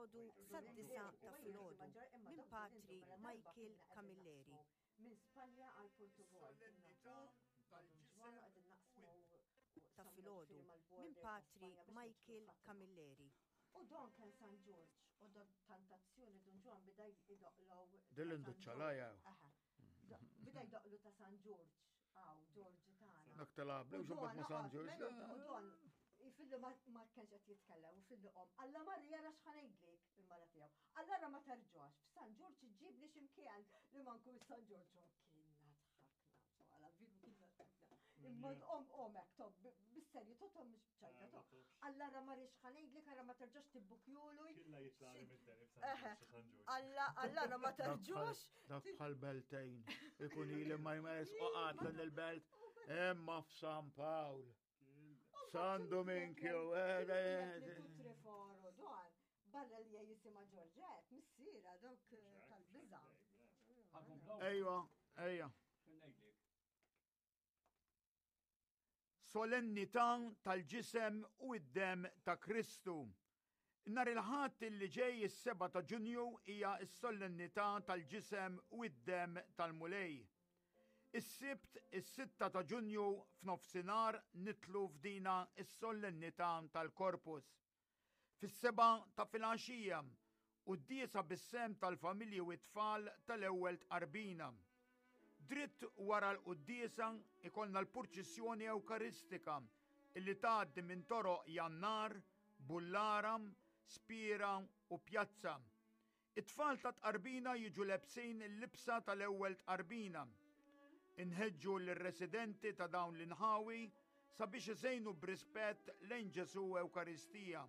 filgħodu sad-disgħa ta' filgħodu minn Patri Michael Camilleri. Minn Spanja għal Portugal. Ta' filgħodu minn Patri Michael Camilleri. U don kien San Ġorġ, u don tantazzjoni Dun Ġwan bida jdoqlow. Dil-induċċalaja. Bida jdoqlu ta' San Ġorġ, għaw, Ġorġi tagħna. Dak tal-għabli, u xobbat ma' San Ġorġ. U don, fillu ma kienx qed jitkellem, u fillu qom. Alla Marija ra x'ħanejdlik il-mara tiegħu. Alla ma terġax, f'San Ġorġ iġibni x'imkien li ma nkun San Ġorġ u kienna tħakna. Għala vidu kienna tħakna. Imma om omek, tob, bis-serju, totom mhux bċajta, tob. Alla ra ma rix ħanejdlik, ara ma terġax tibbukjulu. Killa jitlaqli mid-deni f'San Ġorġ. Alla, alla ra ma terġax. Dak bħal beltejn, ikun ili ma jmess u qatlu l-belt, imma f'San Pawl. San Dominkju, eh, eh, Triforu, dwar, barra li jisima Ġorġet, missiera dok eh, tal-biża. Ejwa, ejja. Solennità tal-ġisem u id-dem ta' Kristu. Nhar il-Ħadd li ġej is-7 ta' Ġunju hija s-Solennità tal-Ġisem u d-Demm tal-Mulej. Is-Sibt is-sitta ta' Ġunju f'nofsinhar nidħlu f'dina s-Solennità tal-Corpus. Fis-sebgħa ta' filgħaxija, quddiesa bis-sehem tal-familji u t-tfal tal-Ewwel Tqarbina. Dritt wara l-quddiesa ikollna l-purċissjoni Ewkaristika illi tgħaddi minn toroq Jannar, Bullara, Spiera u Pjazza. It-tfal ta' tqarbina jiġu lebsin il-libsa tal-ewwel tqarbina. Inħeġġu lir-residenti ta' dawn l-inħawi sabiex iżejnu b'rispett lejn Ġesù Ewkaristija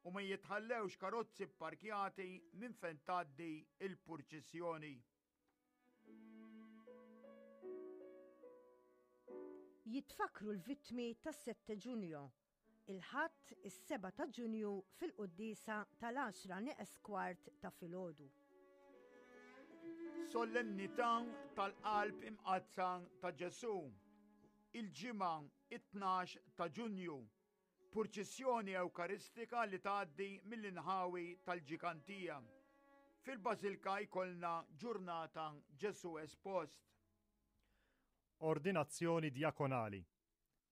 u ma jitħallewx karozzi pparkjati minn fejn tgħaddi l-purċissjoni. Jitfakkru l-vittmi tas-Sette Ġunju, il-Ħadd is-7 ta' Ġunju fil-quddiesa tal-għaxra nieqes kwart ta' filgħodu. Solennità tal-Qalb Imqaddsa ta' Ġesù, il-Ġimgħa it-12 ta' Ġunju, Purċissjoni Ewkaristika li tgħaddi mill-inħawi tal-Ġikantija. Fil-Bażilka jkollna ġurnata Ġesù Espost. Ordinazzjoni Djakonali.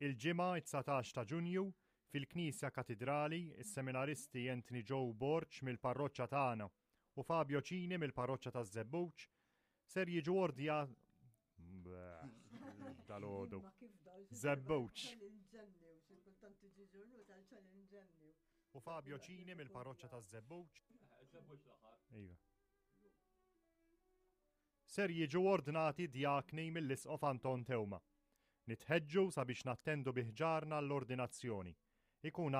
Il-Ġimgħa it-19 ta' Ġunju, fil-Knisja Katidrali, is-seminaristi Anthony Joe Borg mill-parroċċa tagħna u Fabio Cini mill-parroċċa taż-Żebbuġ ser jiġu ordja Dal-ħodu. Zebbuċ. U Fabio Cini mill-parroċċa ta' Zebbuċ. Iva. Ser jiġu ordnati djakni mill-Isqof Anton Teuma. Nitħeġġu sabiex nattendu biħġarna l-ordinazzjoni. Ikun.